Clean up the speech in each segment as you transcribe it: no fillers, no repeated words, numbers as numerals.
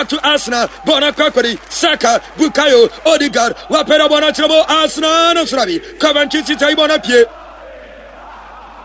To Arsenal bɔɔl no akɔ akɔdi Saka, Bukayo, Odegaard wapɛ dɛ bɔɔl no akyerɛ mu Arsenal no soro bi Coventry City ayi bɔɔl no apue.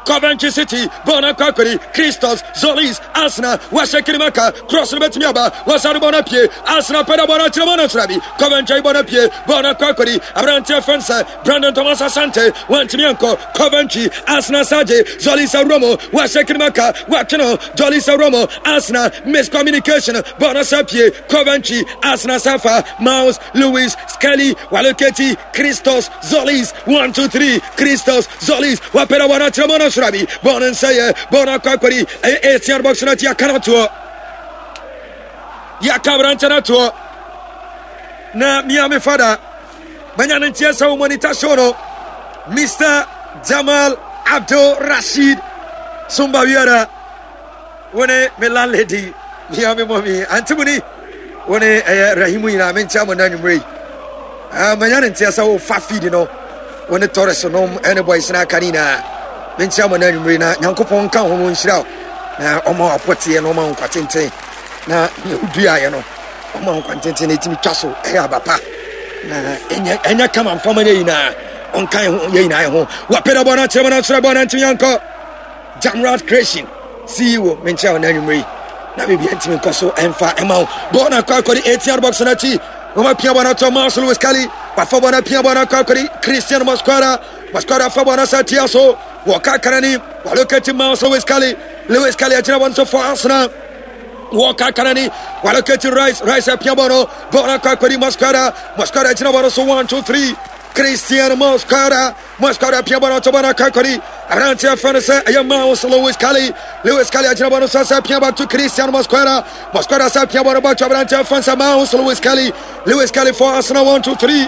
Coventry City bɔɔl no akɔ akɔdi Christos Zolis Arsenal wahyɛ kirimaka cross no bɛtumi aba wɔsane bɔɔl no apue Arsenal pɛ dɛ bɔɔl no akyerɛ mu no soro bi Coventry ayi bɔɔl no apue bɔɔl no akɔ akɔdi aberanteɛ fɛn sɛ Brandon Thomas Asante wantumi ankɔ Coventry Arsenal sagye Zolis awura mu wahyɛ kirimaka watwe no Jolly Sawromo, Arsenal, miscommunication, Bonus Pie, Coventry, Arsenal Safa, Mouse, Lewis, Skelly, Waloketi, Christos, Zolis, 1, 2, 3, Christos, Zolis, Wapera Wana Tremono Srabi, Bonan Saye, Bona Kwakwari, ACR Box Natia Kanatuo, Yakabrantanatuo, na Miami Fada, Manya no nteɛ sɛ wo monitor show no, Mr. Jamal Abdul Rashid Sumba Wiara, wo ne me landlady, mia me mɔmi, ante mu ni, wo ne ɛyɛ Rahimu nyinaa, menkyɛ mo na anwummerɛ yi. Ah, manya no nteɛ sɛ wofa feed no, wo ne Torres nom ɛne boys no aka ne nyinaa. Menkyɛ mo na anwummerɛ yi na Nyankopɔn nka ho no nhyira wo, na ɔma wapɔteɛ na ɔma wo nkwa tenten, na nea woduaeɛ no ɔma wo nkwa tenten na ɛtumi twa so ɛyɛ aba pa na ɛnyɛ ɛnyɛ kama mfama no nyinaa ɔnka yɛn ho yɛn nyinaa yɛn ho wapɛdɛ bɔ no akyerɛ bɔ no akyerɛ bɔ no ntumi ankɔ Jamrat Creation CEO menkyerɛ wo n'anwummerɛ yi na biribi ntumi nkɔ so ɛmfa ɛma wo bɔɔl no akɔ akɔde ATR box no akyi wɔn apia bɔ no ato Miles Lewis Kelly wafa bɔ no apia bɔ no akɔ akɔde Christian Mosquera Mosquera fa bɔ no asa tia so wɔka kanani wɔlokati Miles Lewis Kelly Lewis Kelly agyina wɔn so for Arsenal Walker Kanani, Waloketi Rice, Rice apia bɔ no, bɔɔl no akɔ akɔdi Mosquera, Mosquera gyina bɔ no so 1 2 3 Christian Mosquera, Mosquera apia bɔ no to bɔ no akɔ akɔdi aberanteɛ fɛ no sɛ ɛyɛ Miles Lewis Kelly, Lewis Kelly agyina bɔ no so sɛ apia back to Christian Mosquera, Mosquera sɛ apia bɔ no back to aberanteɛ fɛ no sɛ Miles Lewis Kelly, Lewis Kelly for Arsenal 1 2 3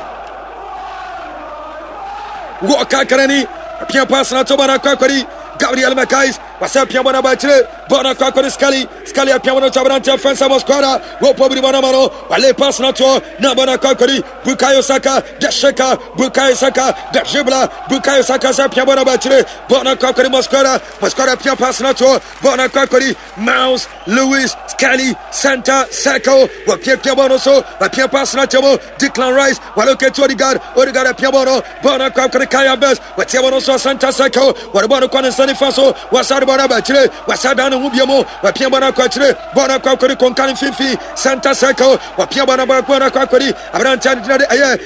Walker Kanani, apia pass no to bɔ no akɔ akɔdi Gabriel Magalhaes Wasa pia bɔ n'aba akyire bɔɔl no akɔ akɔde Scully Scully apia bɔ no to aberanteɛ fɛn sɛ Mosquera wɔpɔ biri bɔ n'ama no wale pass no toɔ na bɔ no akɔ akɔde Bukayo Saka the shaker Bukayo Saka the dribbler Bukayo Saka sɛ pia bɔ n'aba akyire bɔɔl no akɔ akɔde Mosquera Mosquera pia pass no toɔ bɔɔl no akɔ akɔde Miles Lewis Scully center circle wɔpiapia bɔɔl no so wɔpia pass no akyɛ mu Declan Rice walocate Odegaard Odegaard apia bɔɔl no bɔɔl no akɔ akɔde Kai Havertz Wɔteɛ wɔn so asanta circle, wɔde bɔɔl no kɔ ne nsa nifa so, wɔasa de bɔɔl no aba akyire, wɔasa dan ne ho bio mu, wɔapia bɔɔl no akɔ akyire, bɔɔl no akɔ akɔdi konka no mfimfini, center circle, wɔapia bɔɔl no aba bɔɔl no akɔ akɔdi aberanteɛ no gyina de ɛyɛ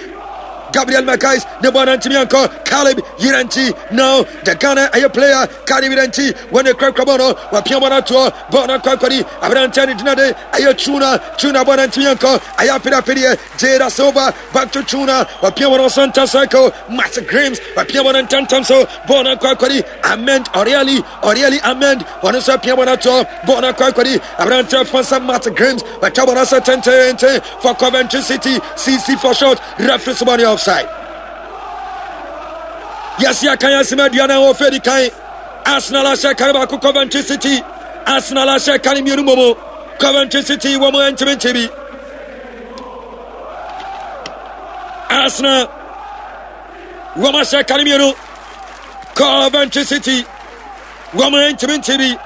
Gabriel Magalhaes ne bɔɔl no ntumi ankɔ Caleb Yiranchi now the Ghana ɛyɛ player Caleb Yiranchi wɔn ne kurakura bɔɔl no wɔapia bɔɔl no atoɔ bɔɔl no akɔ akɔdi aberanteɛ no gyina de ɛyɛ Tuna Tuna bɔɔl no ntumi ankɔ ɛyɛ apereapereɛ Jada Silva back to Tuna wapia wɔn center circle Matt Grimes wapia wɔn ntɛntɛm so bɔɔl no akɔ akɔdi Ahmed Oriali Oriali Ahmed wɔn nso apia wɔn ato bɔɔl no akɔ akɔdi aberanteɛ fansa Matt Grimes watwa wɔn asɛ tententen for Coventry City CC for short referee so bɔɔl no offside yɛsi akan asɛm aduane a wɔfɛ di kan Arsenal ahyɛ kan baako Coventry City Arsenal ahyɛ kan mmienu mmom Coventry City wɔn ntumi nkyɛ bi Arsenal wɔn ahyɛ kane mmienu Coventry City wɔn ntumi nti bi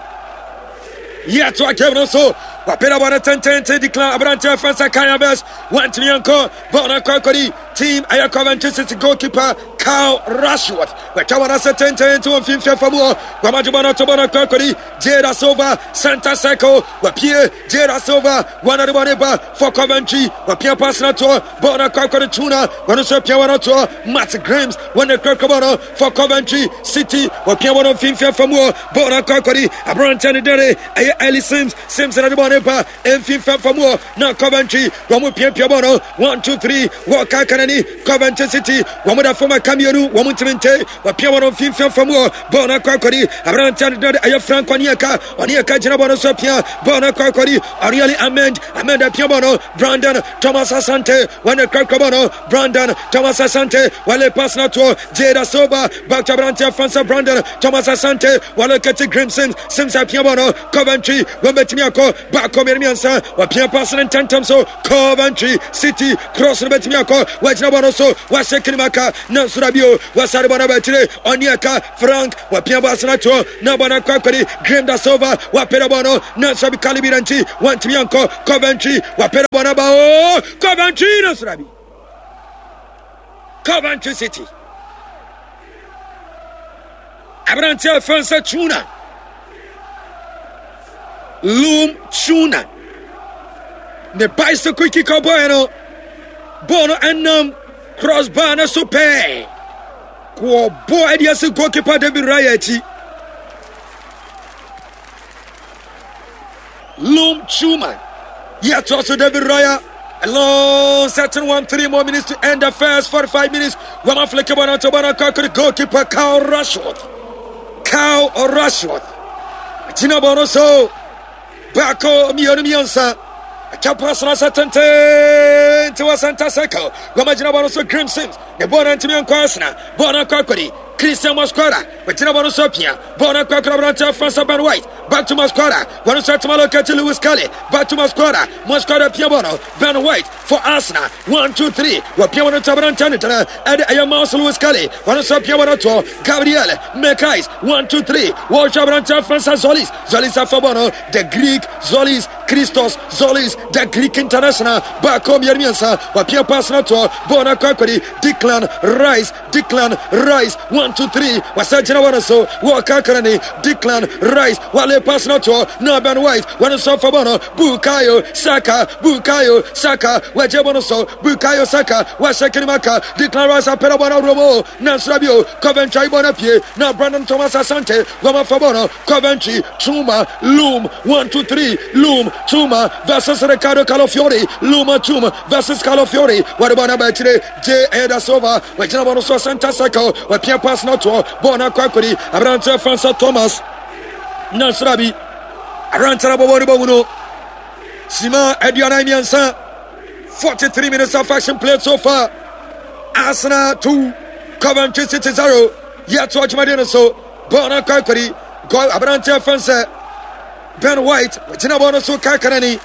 yɛtoa game no so wapere bɔ no tententen declare aberanteɛ fɛn sɛ Kai Havertz wantumi ankɔ bɔɔl no akɔ akɔdi team ɛyɛ Coventry City goalkeeper Kyle Rashworth wɔatwa wɔn ase tententen wɔ mfimfini fa mu hɔ wɔamagye bɔɔl no ato bɔɔl no akɔ akɔdi Jada Silva center circle wapie Jada Silva wɔn ade bɔne ba for Coventry wɔpia pass no toɔ bɔɔl no akɔ akɔde Tuna wɔn nso apia wɔn atoɔ Matt Grimes wɔn na kurakura bɔɔl no for Coventry City wɔpia wɔn mfimfini afa mu hɔ bɔɔl no akɔ akɔde aberanteɛ no dɛre ɛyɛ Ellie Sims Sims na de bɔɔl no ba mfimfini afa mu hɔ na Coventry wɔn piapia bɔɔl no 1 2 3 wɔka kanani Coventry City wɔn da fam aka mmienu wɔn ntumi nte wɔpia wɔn mfimfini afa mu hɔ bɔɔl no akɔ akɔde aberanteɛ no dɛre ɛyɛ Frank Onyeka Ɔne ɛka gyina bɔ no so apia bɔɔl no akɔ akɔdi Arieli Ahmed Ahmed apia bɔɔl no Brandon Thomas Asante wɔne kurakura bɔɔl no Brandon Thomas Asante wɔle pass no toɔ Jada Silva back to aberanteɛ Fansa Brandon Thomas Asante wɔle kɛte Grim Sims Sims apia bɔɔl no Coventry wɔn bɛtumi akɔ baako mmienu mmiɛnsa wɔpia pass no ntɛntɛm so Coventry City cross no bɛtumi akɔ wɔagyina. Wɔagyina bɔ no so, wɔahyɛ kinimaka, nanso da bio, wɔasare bɔ no aba akyire, Onyeka, Frank, wɔapia bɔ asena toɔ, na bɔ no akɔ akɔdi, Graham da Silva, wɔapere bɔ no, nanso abi Kalibi nti, wɔantumi ankɔ, Coventry, wɔapere bɔ no aba o, Coventry, nanso da bi. Coventry City. Aberanteɛ a ɛfɛn sɛ Tuna. Loom Tuna. Ne bicycle kick ɔbɔɛ no. Bɔɔl no ɛnam crossbar no so pɛɛ. Kɔɔbɔ ɛde asi goalkeeper David Raya akyi. Loom Chuma. Yɛtoa so David Raya. A long certain 1-3 more minutes to end the first 45 minutes. Wama flick ball to ball to goalkeeper Kyle Rashford. Kyle Rashford. Gyina ball no so. Baako mmienu mmiɛnsa. Atwa pass no asa tenten nti wɔ center circle. Wama gyina ball no so Grim Sims. Ne ball no ntumi ankɔ Arsenal. Ball no akɔ akɔdi. Christian Mosquera. Wɔgyina ball no so apia. Ball no akɔ akɔdi aberanteɛ Francis Ben White. Back to Mosquera. Wɔn nso atuma locate Lewis Kelly. Back to Mosquera. Mosquera pia ball no. Ben White for Arsenal. 1 2 3. Wɔpia wɔn to aberanteɛ no gyina. Ɛde ɛyɛ Miles Lewis Kelly. Wɔn nso apia wɔn to Gabriel Mekais. 1 2 3. Wɔhwɛ aberanteɛ Francis Zolis. Zolis afa ball no. The Greek Zolis. Christos Zolis. The Greek international. Baako mmienu mmiɛnsa. Wɔpia pass no to. Ball no akɔ akɔdi. Declan Rice. Declan Rice, 1 2 3, wasa gyina wɔn so, wɔka kra ni Declan Rice, wale pass no toɔ, na Ben White, wɔn nso fa bɔ no, Bukayo Saka, Bukayo Saka, wɔagye bɔ no so, Bukayo Saka, wahyɛ kinimaka, Declan Rice apɛrɛ bɔ no romo, nansra bio, Coventry bɔ no pie, na Brandon Thomas Asante, wɔn afa bɔ no, Coventry, Chuma, Loom, 1 2 3, Loom, Chuma versus Ricardo Calafiori, Loom, Chuma versus Calafiori, wɔde bɔ no aba akyire, J. Eda Silva wagyina bɔ no so center circle wapia pass no toɔ bɔɔl no akɔ akɔdi aberanteɛ Francis Thomas Nasrabi aberanteɛ no bɔbɔ no bɔ mu no sima 43 43 minutes of action played so far. Arsenal 2, Coventry City 0. Yɛto adwumadeɛ no so bɔɔl no akɔ akɔdi goal aberanteɛ fɛn Ben White wagyina bɔɔl no so kakanani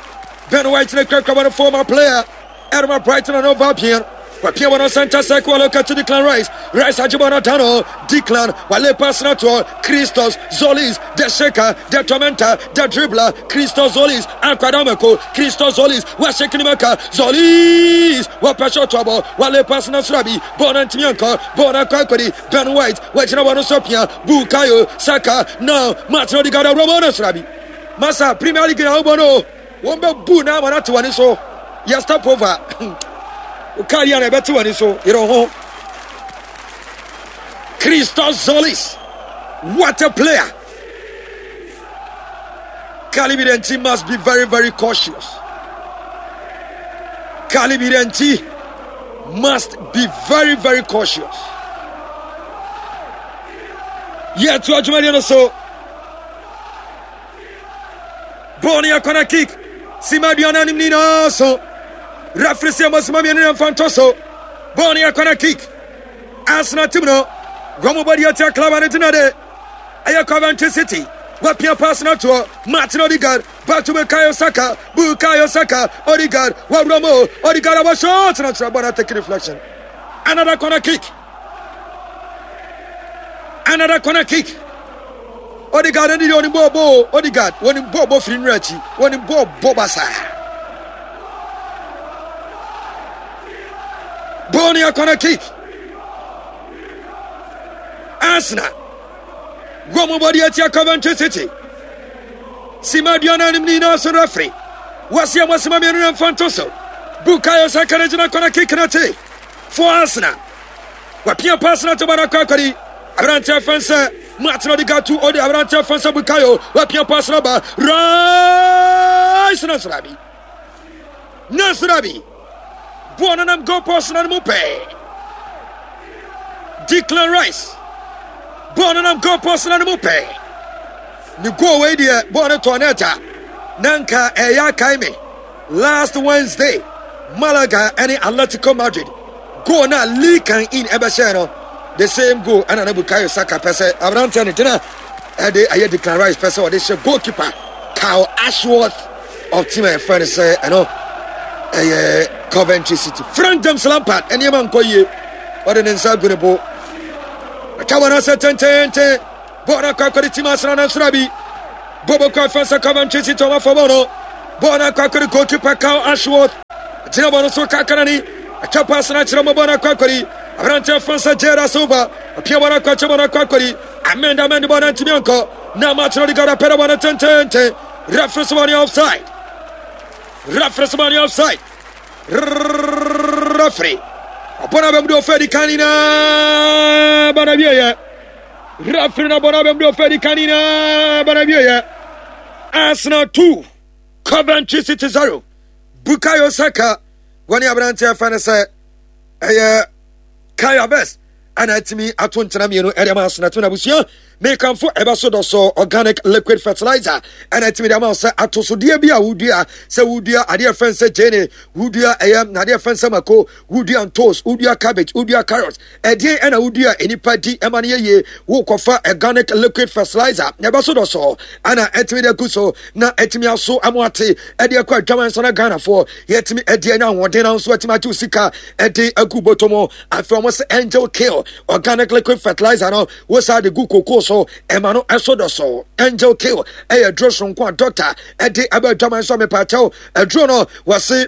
Ben White ne kurakura bɔ no former player Ɛrema Brighton and Hove Albion. Wapia wɔn center circle aloka to Declan Rice. Rice agye bɔ no da no. Declan wale pass no toɔ. Christos Zolis the shaker, the tormentor, the dribbler. Christos Zolis akwadamako. Christos Zolis wahyɛ kinimaka. Zolis wapɛ shot abɔ. Wale pass no soro abi. Bɔɔl no ntumi ankɔ. Bɔɔl no akɔ akɔdi. Ben White wagyina bɔ no so pia. Bukayo Saka now Martin Odegaard awura bɔɔl no soro abi. Masa Premier League na wobɔ no. Wɔn bɛ bu na ama no ate w'ani so. Yɛ step over. Wo car yi a na ɛbɛte w'ani so. Yere ho. Christos Zolis. What a player. Kalibidenti must be very, very cautious. Kalibidenti must be very, very cautious. Yet to adwumadeɛ no so. Bɔɔl no yɛ corner kick. Sima aduane anim nyinaa so. Referee sɛ ɛmɔ sima mmienu na mfa ntɔ so. Bɔɔl no yɛ corner kick. Arsenal team no wɔn bɔ deɛ tia club ano gyina de ɛyɛ Coventry City. Wapia pass no toɔ Martin Odegaard back to Bukayo Saka. Bukayo Saka Odegaard wawura mu Odegaard abɔ shot na kyerɛ bɔɔl no take deflection. Another corner kick. Another corner kick. Odegaard ɛni deɛ ɔnim bɔɔl bɔ o. Odegaard wɔnim bɔɔl bɔ firi nwura akyi. Wɔnim bɔɔl bɔ basaa. Bɔɔl no yɛ corner kick. Arsenal wɔn mo bɔde atia Coventry City. Sima aduanan anim ne nyinaa so referee. Wɔsi ɛmɔ sima mmienu na mfa nto so. Bukayo Saka no gyina corner kick no akyi. For Arsenal. Wapia pass no to bɔ no akɔ akɔdi. Aberanteɛ fɛn sɛ Martin Odegaard to ɔde aberanteɛ fɛn sɛ Bukayo. Wapia pass no ba. Rice na srabi. Na srabi. Bɔɔl no nam goal post no mu pɛɛ. Declan Rice. Bɔɔl no nam goal post no mu pɛɛ. Ne goal wei deɛ bɔɔl no tɔɔ net a na nka ɛyɛ akae me. Last Wednesday, Malaga ne Atletico Madrid goal na Lee Kang In ɛbɛhyɛɛ no, the same goal ɛna na Bukayo Saka pɛ sɛ aberanteɛ no gyina ɛde ɛyɛ Declan Rice pɛ sɛ ɔde hyɛ goalkeeper Kyle Ashworth of team a yɛfrɛ no sɛ ɛno ɛyɛ Coventry City. Frank James Lampard nneɛma nkɔ yie, ɔde ne nsa agu ne bo. Atwa wɔn ase tententen. Bɔɔl no akɔ akɔde tim Arsenal nanso na bi. Bɔɔl bɛkɔ afa sɛ Coventry City wɔn afɔ bɔɔl no. Bɔɔl no akɔ akɔde goalkeeper Carl Ashworth. Gyina bɔɔl no so kakra ni. Atwa pass no akyerɛ mo bɔɔl no akɔ akɔde. Aberanteɛ fa sɛ Jada Silva. Apia bɔɔl no akɔ akyɛ bɔɔl no akɔ akɔde. Amend amend bɔɔl no antumi ankɔ. Na match no de gada pɛrɛ bɔɔl no tententen. Referee sɛ bɔɔl no offside. Referee sɛ bɔɔl no offside. Referee. Ɔbɔ no abɛm de ɔfɛ di kan nyinaa ba na wieɛ. Referee na bɔ no abɛm de ɔfɛ di kan nyinaa ba na wieɛ. Arsenal 2 Coventry City 0. Bukayo Saka wɔne aberanteɛ fɛ no sɛ ɛyɛ Kai Havertz ɛna atumi ato nkyena mmienu ɛde ama Arsenal tumi na abusua mekamfo ɛbɛ so dɔ so organic liquid fertilizer ɛna atumi de ama sɛ atosodeɛ bi a wodua sɛ wodua adeɛ fɛn sɛ gyene wodua ɛyɛ adeɛ fɛn sɛ mako wodua ntos wodua cabbage wodua carrot ɛdeɛn ɛna wodua nnipa di ɛma no yɛ yie wokɔfa organic liquid fertilizer na ɛbɛ so dɔ so ɛna atumi de agu so na atumi aso ɛmo ate ɛde akɔ adwaman nso na Ghanafoɔ yɛtumi ɛde anya ahoɔden na nso atumi agye sika ɛde agu bɔtɔ mu. Afei wɔn sɛ Angel Kill organic liquid fertilizer no wosaa de gu koko so ɛma no ɛso dɔ so. Angel Kill ɛyɛ aduro soronko a dɔkta ɛde ɛbɛ adwaman nso mepaakyɛw aduro no wɔse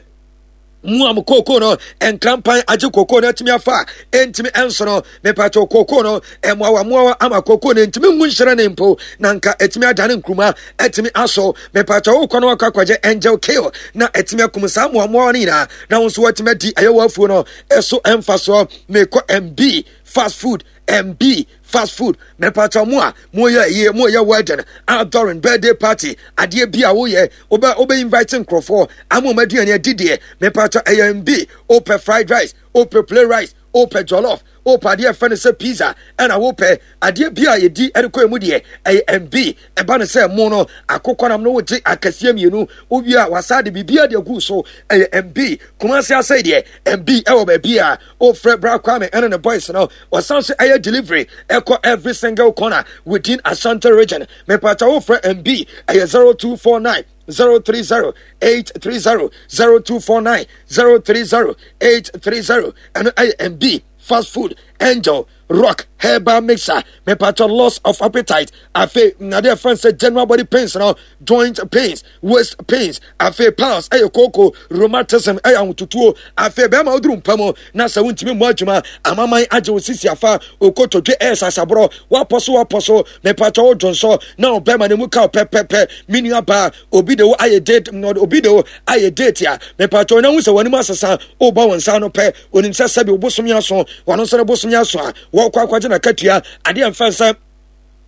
mu a mo kookoo no nkrampan agye kookoo no atumi afa a ɛntumi ɛnso no mepatwo kookoo no mmoawa mmoawa ama kookoo no ntumi ngu nhyerɛne mpo na nka ɛtumi adane nkuruma atumi aso mepatwo wokɔ no wakɔ akɔgye angel kill na ɛtumi akum saa mmoa mmoawa no nyinaa na wo nso watumi adi ɛyɛ wɔ no ɛso ɛmfa soɔ. Mekɔ MB fast food, MB fast food, mepatwa mo a moyɛ yie, moyɛ wedding, outdooring, birthday party, adeɛ bi a woyɛ, wobɛ wobɛ invite nkurɔfoɔ ama wɔn aduane adi deɛ, mepatwa ɛyɛ MB. Wopɛ fried rice, wopɛ plain rice, wopɛ jollof, wopɛ adeɛ ɛfɛ no sɛ pizza, ɛna wopɛ adeɛ bi a yɛdi ɛde kɔ emu deɛ, ɛyɛ MB. Ɛba no sɛ mo no akokɔnam no wogye akɛseɛ mmienu, wowie a wasa de biribiara de agu so, ɛyɛ MB. Kumasi asɛe deɛ MB ɛwɔ baabi a wofrɛ Bra Kwame ɛne ne boys no, wɔsan so ɛyɛ delivery ɛkɔ every single corner within Ashanti region. Mepata wofrɛ MB ɛyɛ 0249 030 830, 0249 030 830. Ɛno ɛyɛ MB fast food. Angel Rock herbal mixer, mepatɔ loss of appetite, afei nade ɛfrɛ sɛ general body pains no, joint pains, waist pains, afei piles ɛyɛ kooko, rheumatism ɛyɛ ahotutuo, afei bɛrima woduru mpa mu na sɛ wontumi mmɔ adwuma, amaman agye wo sisi afa, okotodwe ɛyɛ sasaborɔ, wapɔ so wapɔ so, mepatɔ wo dwonsɔ na ɔbɛrima no mu ka pɛpɛpɛ. Me nua baa, obi de wo ayɛ date, obi de wo ayɛ date a, mepatɔ na hu sɛ w'anim asesa, wobɔ wo nsa ano pɛ, onim sɛ sɛbi wobosome aso, wɔn nso ne bosome aso a wɔkɔ akɔgye n'akatua. Adeɛ mfa sɛ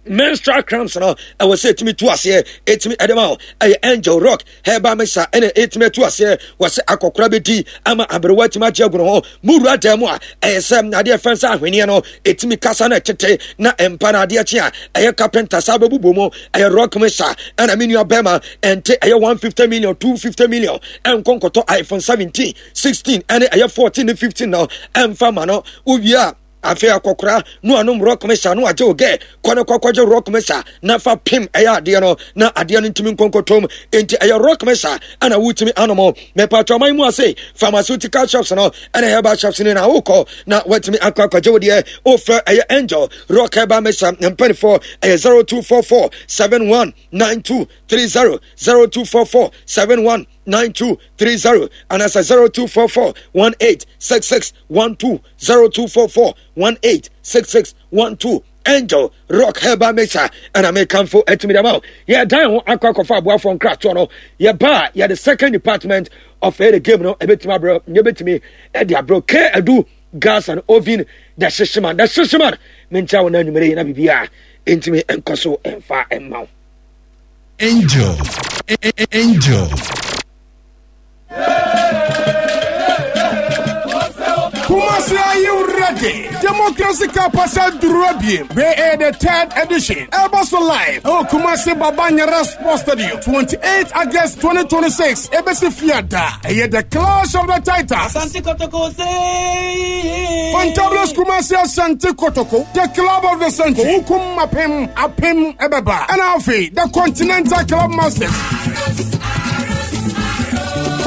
menstrual cramps no ɛwɔ sɛ ɛtumi tu aseɛ, ɛtumi ɛde ma wo, ɛyɛ Angel Rock herbal mixture ɛna ɛtumi atu aseɛ. Wɔ sɛ akɔkora bɛdi ama aberewa atumi agye agu ne ho mu wura dan mu a, ɛyɛ sɛ adeɛ fɛn sɛ ahweneɛ no ɛtumi kasa no ɛtete na mpa no adeɛ kye a ɛyɛ carpenter saa bɛbobɔ mu, ɛyɛ rock mixture. Ɛna me nua bɛrima ɛnte ɛyɛ 150 million, 250 million ɛnkɔ nkɔtɔ iPhone 17, 16 ɛne ɛyɛ 14 ne 15 no ɛmfa ma no. Wowie a afei akɔkora no anom rock mesa no agye wo gɛ kɔ no kɔkɔgye rock mesa na fa pem ɛyɛ adeɛ no na adeɛ no ntumi nkonkotom. Enti ɛyɛ rock mesa ɛna wotumi anom. Mepatɔ ɔman mu ase pharmaceutical shops no ɛna herbal shops no na wokɔ na watumi akɔ akɔgye wo deɛ. Wofrɛ ɛyɛ Angel Rock herbal mesa mpanifoɔ ɛyɛ 0244 71 92 30, 0244 71 9230 anaasɛ 0244 1866 12, 0244 1866 12. Angel Rock herbal mixer ɛna mekamfo atumi dama wo. Yɛdan ho akɔ akɔfa aboafoɔ nkratoɔ no, yɛba a yɛde second department of the game no ɛbɛtumi abrɛ, yɛbɛtumi ɛde abrɛ K Adu gas and oven, the hyehyeman, the hyehyeman. Menkyia wo no anwummere yi na biribiaa ɛntumi nkɔ so ɛmfa ɛmma wo. Angel, Angel. Kumasi, are you ready? Democracy Cup Asadurabie. We are the third edition. Elbaso live. Oh, Kumasi Baba Yara Sports Stadium. 28 August 2026. Ebesi Fiada. Eye the clash of the titans. Asante Kotoko say. Fantabulous Kumasi Asante Kotoko. The club of the century. Wukum Apem Apem Ebeba. And Alfie, the Continental Club Masters.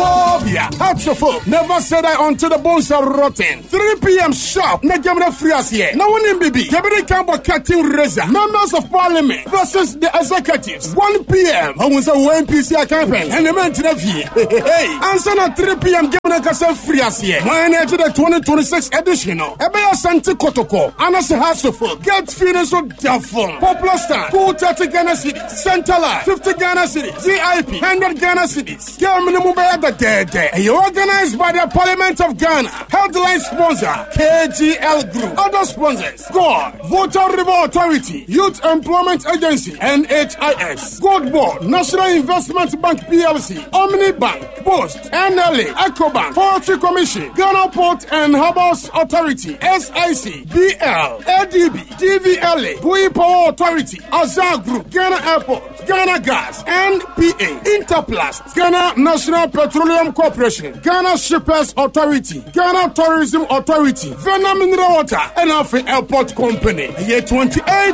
Phobia. Hearts of Oak. Never say die until the bones are rotten. 3 p.m. sharp. Na game na free as here. Na one BB. Kebiri Kambo Captain Reza. Members of Parliament versus the executives. 1 p.m. Ohun sɛ wo NPC campaign. And the men to the fie. Hey. Answer na 3 p.m. game na kasa free as here. When to the 2026 edition. No. Ebe Asante Kotoko. Anase Hearts of Oak. Get feeling so doubtful. Popular stand. 230 Ghana cedis. Centerline. 50 Ghana cedis. VIP. 100 Ghana cedis. Game no mu bɛyɛ dɛdɛɛdɛ. Ɛyɛ organized by the Parliament of Ghana. Headline sponsor KGL Group. Other sponsors God, Volta River Authority, Youth Employment Agency, NHIS, Gold Board, National Investment Bank PLC, Omni Bank, Post, NLA, EcoBank, Forestry Commission, Ghana Port and Harbors Authority, SIC, BL, ADB, DVLA, Bui Power Authority, Azar Group, Ghana Airport, Ghana Gas, NPA, Interplast, Ghana National Petroleum Corporation, Ghana Shippers Authority, Ghana Tourism Authority, Vena Mineral Water, and Afi Airport Company. Year 28.